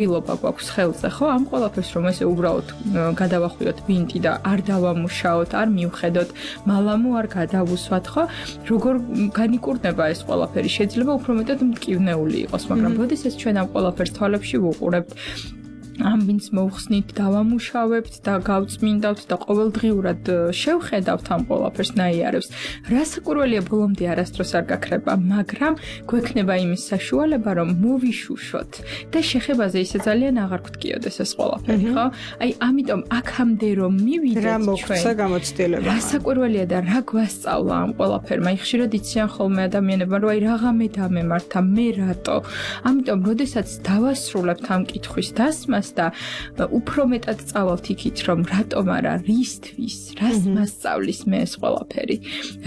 ილობა გვაქვს ხელზე, ხო? ამ ყველაფერს რომ ესე უბრალოდ გადავახვიოთ ვინტი და არ დავამუშაოთ, არ მივხედოთ, მალამო არ გადავუსვათ, ხო? როგორ განიკურნება ეს ყველაფერი? შეიძლება უფრო მეტად მტკივნეული იყოს, მაგრამ როდესაც ჩვენ ამ ყველაფერს თვალებში ვუყურებთ, ამ ვინც მოუხსნით, დავამუშავებთ და გავწმინდავთ და ყოველდღიურად შევხედავთ ამ ყველაფერს ნაიარევს. რასაკვირველია, ბოლომდე არასდროს არ გაქრება, მაგრამ გვექნება იმის საშუალება, რომ მოვიშუშოთ და შეხებაზე ისე ძალიან აღარ გვტკიოდეს ეს ყველაფერი, ხო? აი, ამიტომ აქამდე რომ მივიდეთ რა მოხდა გამოცდილება. რასაკვირველია და რა გვასწავლა ამ ყველაფერმა. აი, ხშირად იციან ხოლმე ადამიანებმა, რომ აი რაღა დამემართა, მე რატო? ამიტომ, როდესაც დავასრულებთ ამ კითხვის დასმას და უფრო მეტად წავალთ იქით, რომ რატომ არა, რისთვის, რას მასწავლის მე ეს ყველაფერი.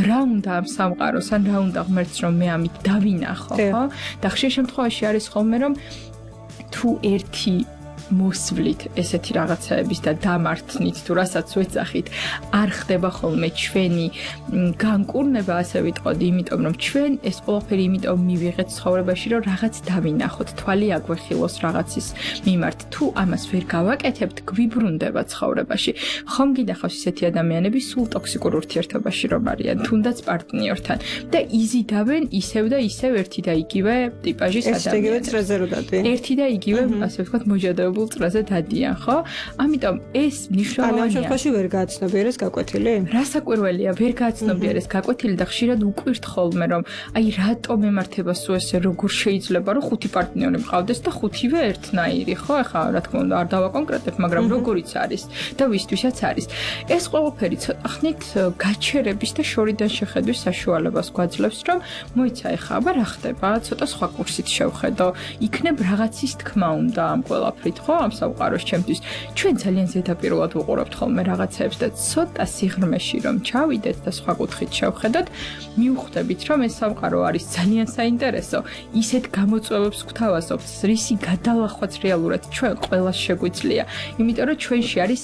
რა უნდა ამ სამყაროს, ან რა უნდა ღმერთს, რომ მე ამით დავინახო, ხო? და ხშირ შემთხვევაში არის ხოლმე, რომ თუ ერთი მოსვლით ესეთი რაღაცაების და დამართნით თუ რასაც ვეძახით, არ ხდება ხოლმე ჩვენი განკურნება, ასე ვიტყოდი, იმიტომ რომ ჩვენ ეს ყველაფერი იმიტომ მივიღეთ ცხოვრებაში, რომ რაღაც დავინახოთ, თვალი აგვეხილოს რაღაცის მიმართ. თუ ამას ვერ გავაკეთებთ, გვიბრუნდება ცხოვრებაში. ხომ გინახავს ისეთი ადამიანები სულ ტოქსიკურ ურთიერთობაში რომ არიან, თუნდაც პარტნიორთან და იზიდავენ ისევ და ისევ ერთი და იგივე ტიპაჟის ადამიანებს. ერთი და იგივე, ასე ვთქვათ, მოჯადებული წრეზე დადიან, ხო? ამიტომ ეს მნიშვნელოვანია. ამ შემთხვევაში ვერ გააცნობიერეს გაკვეთილი? რასაკვირველია, ვერ გააცნობიერეს გაკვეთილი და ხშირად უკვირთ ხოლმე, რომ აი რატომ ემართება სულ ესე, როგორ შეიძლება, რომ 5 პარტნიორი მყავდეს და 5-ვე ერთნაირი, ხო? ეხლა რა თქმა უნდა არ დავაკონკრეტებ, მაგრამ როგორიც არის და ვისთვისაც არის. ეს ყველაფერი ცოტა ხნით გაჩერების და შორიდან შეხედვის საშუალებას გვაძლევს, რომ მოიცა ეხლა აბა რა ხდება, ცოტა სხვა კურსით შევხედო, იქნებ რაღაცის თქმა უნდა ამ ყველაფრით, ხო? ამ სამყაროს ჩემთვის ჩვენ ძალიან ზედაპირულად ვუყურებთ ხოლმე რაღაცებს და ცოტა სიღრმეში რომ ჩავიდეთ და სხვა კუთხით შევხედოთ, მივხვდებით რომ ეს სამყარო არის ძალიან საინტერესო. ისეთ გამოწვევებს გვთავაზობთ, რისი გადალახვაც რეალურად ჩვენ ყველას შეგვიძლია, იმიტომ რომ ჩვენში არის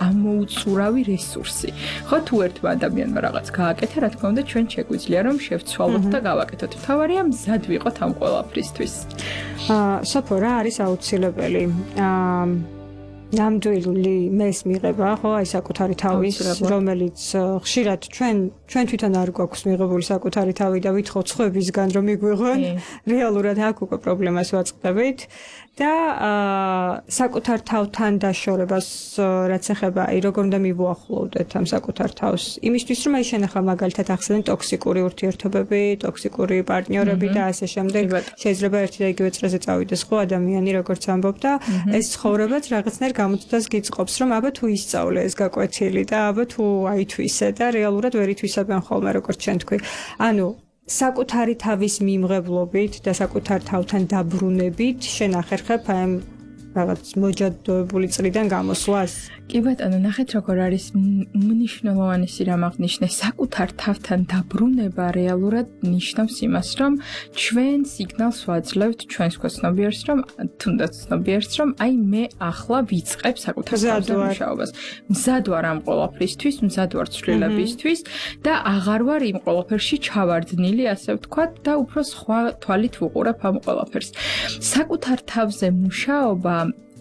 ამოუწურავი რესურსი. ხო, თუ ერთმა ადამიანმა რაღაც გააკეთა, რა თქმა უნდა ჩვენ შეგვიძლია რომ შევცვალოთ და გავაკეთოთ. მთავარია მზად ვიყოთ ამ ყველაფრისთვის. სოფო, რა არის აუცილებელი? ნამდვილი მეს მიღება, ხო, აი საკუთარი თავის, რომელიც ხშირად ჩვენ თვითონ არ გვაქვს მიღებული საკუთარი თავი და ვითხოვთ სხვებისგან რომ მიგვიღონ, რეალურად აქ უკვე პრობლემას ვაწყდებით და საკუთარ თავთან დაშორებას რაც ეხება, აი როგორ უნდა მივუახლოვდეთ ამ საკუთარ თავს, იმისთვის რომ აი შენ ახლა მაგალითად ახსენე ტოქსიკური ურთიერთობები, ტოქსიკური პარტნიორები და ასე შემდეგ, შეიძლება ერთი და იგივე წრეზე წავიდეს ხო ადამიანი, როგორც ამბობ და ეს ცხოვრებაც რაღაცნაირ გამოწვევას გიწყობს, რომ აბა თუ ისწავლე ეს გაკვეთილი და აბა თუ აითვისე და რეალურად ვერ ითვისებენ ხოლმე, როგორც ჩვენ თქვი. ანუ საკუთარი თავის მიმღებლობით და საკუთარ თავთან დაბრუნებით შენ ახერხებ აი რაღაც მოჯადოებული წრიდან გამოსვლას? კი ბატონო, ნახეთ როგორ არის მნიშვნელოვანი რამ აღნიშნე, საკუთარ თავთან დაბრუნება რეალურად ნიშნავს იმას, რომ ჩვენ სიგნალს ვაძლევთ ჩვენს ქოსნობიერს, რომ თუნდაც ცნობიერს, რომ აი მე ახლა ვიწყებ საკუთარ თავთან მუშაობას. მზად ვარ ამ ყველაფრისთვის, მზად ვარ ცვლილებისთვის და აღარ ვარ იმ ყველაფერში ჩავარდნილი, ასე ვთქვათ, და უფრო სხვა თვალით ვუყურებ ამ ყველაფერს. საკუთარ თავზე მუშაობა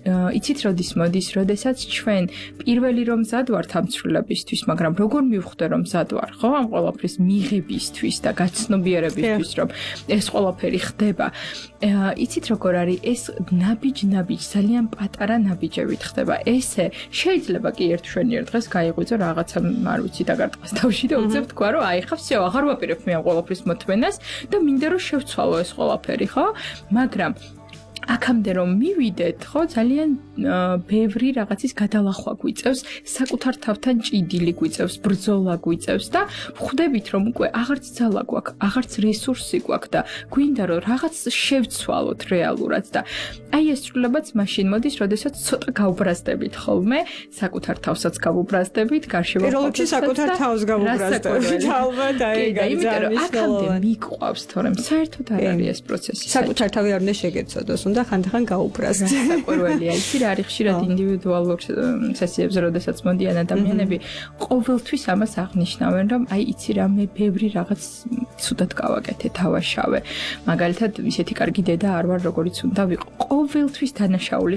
იცით როდის მოდის, როდესაც ჩვენ პირველი რომ მზად ვართ ამ ცვლილებისთვის, მაგრამ როგორ მივხვდე რომ მზად ვარ, ხო, ამ ყველაფრის მიღებისთვის და გაცნობიერებისთვის, რომ ეს ყველაფერი ხდება. იცით როგორ არის, ეს ნაბიჯ, ძალიან პატარა ნაბიჯებით ხდება. ესე შეიძლება კი ერთ შვენიერ დღეს გაიღვიძო რაღაცა, არ ვიცი, დაგარტყას თავში და უცებ თქვა, რომ აი ხა всё, აღარ ვაპირებ მე ამ ყველაფრის მოთმენას და მინდა რომ შევცვალო ეს ყველაფერი, ხო? მაგრამ აქამდე რომ მივიდეთ, ხო, ძალიან ბევრი რაღაცის გადალახვა გვიწევს, საკუთარ თავთან ჭიდილი გვიწევს, ბრძოლა გვიწევს და ხვდებით რომ უკვე აღარც ძალა გვაქვს, აღარც რესურსი გვაქვს და გვინდა რომ რაღაც შევცვალოთ რეალურად და აი ეს სრულებაც მაშინ მოდის, როდესაც ცოტა გავუბრაზდებით ხოლმე, საკუთარ თავსაც გავუბრაზდებით, გარშემო პირველ რიგში საკუთარ თავს გავუბრაზდებით. ალბათ აი გამიწერო, აქამდე მიყვავს, თორემ საერთოდ არ არის ეს პროცესი. საკუთარ თავი არ უნდა შეგეცოდოს. უნდა ხანდახან გაუბრას. საკვირველია. იცი რა არის ხშირად ინდივიდუალურ სესიებზე, როდესაც მოდიან ადამიანები, ყოველთვის ამას აღნიშნავენ, რომ აი იცი რა მე ბევრი რაღაც ცუდად გავაკეთე, დავაშავე. მაგალითად, ისეთი კარგი დედა არ ვარ, როგორიც უნდა ვიყო. ყოველთვის დანაშაულის